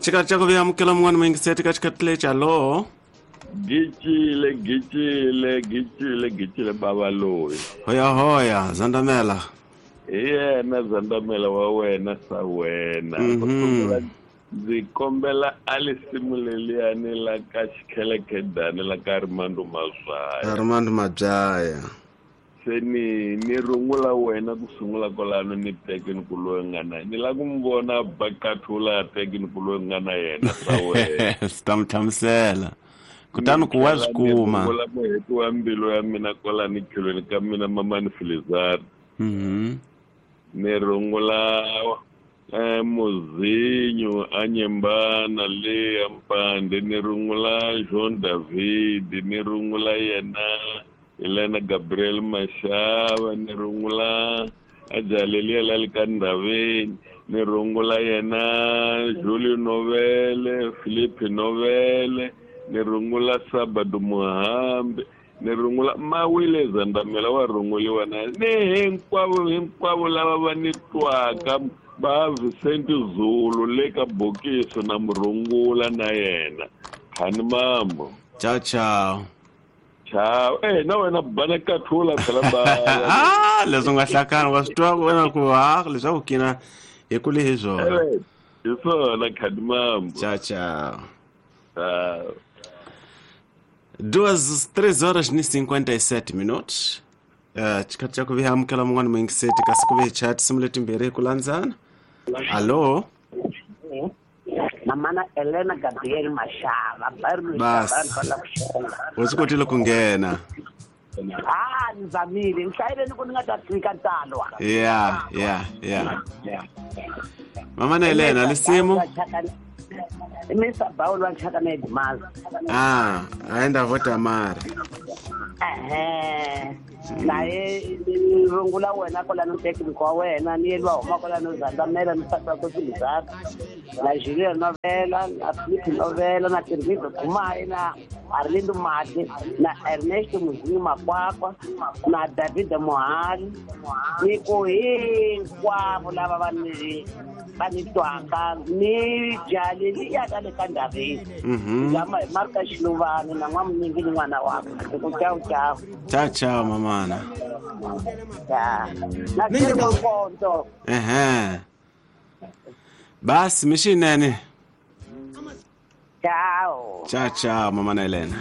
Xikhathi xa ku vuya amukela mun'wana muyingiseti ka xikhathi lexi. Hallo. Gicile, gicile, gicile, gicile baba loyi. Hoya hoya, Zandamela. Hi yena Zandamela wa wena sa wena. Ndzi kombela a lisimu leliyani la ka Xikhelekhedani la ka Armando Mazwaya. Armando Mabyaya. Se ni rungula wena ku sungula kwalano ni teke ni ku loyi nga na ni lava ku mi vona bakathula teke ni ku loyi nga na yena sa wena. Swi ta mi hlamusela. Kutani ku wa swi kuma. Rungula muheti wa mbilu ya mina kwalani khelweni ka mina Mamani Filizari. Ni rungula Muzinyu a Nyembana le ya Mpande, ni rungula Jean David, ni rungula yena Helena Gabriel Mashava, ni rungula Ajaleliya la le ka Ndhaveni, ni rungula yena Julio Novele, Philippe Novele, ni rungula Sabado Muhambe, ni rungula Mawile Zandamela wa runguliwa na ni hinkwavo hinkwavo lava va ni twaka va Vicente Zulu le ka Bokiso na murungula na yena. Khani mambo. Ciao ciao. Ciao. Na wena bana kathula phela ba. Ah, leswi nga hlakana wa swi twa wena ku ha leswaku kina hi kule hi swona. Hi swona khani mambo. Ciao ciao. Ciao. 3 horas ni 57 minutos. Xikhathi xa ku vuya amukela mun'wana muyingiseti kasi ku ve chat simu letimbirhi hi ku landzana. Hallo. Mamana Elena Gabriel Mashava. Bas. U swi kotile ku nghena. Ah, ni zamile. Ni hlayile ni ku ni nga ta tlika tsalwa. Yeah, yeah, yeah. Mamana Elena, lisimu? Mr. Bawul wa Chaka na Edmaza. Ah, aenda vota mara. Naye rungula wena kwalano tekniko wa wena ni yelwa huma kwalano Zandamela ni nsati wa Filizari na Julia Novela na Philippe Novela na Tirmizo Kumayi na Arlindo Mati na Ernesto Muzinyi Makwakwa na David Mohali ni ku hinkwavo lava va ni twaka ni jali liya ka le ka Ndhaveni. Zama hi Marka Xiluvani na n'wamunyingi ni n'wana wakwe. Ku ciao ciao. Ciao ciao mamana. Ya. Na Nkonto. Basi mixinene. Ciao. Ciao ciao mamana Elena.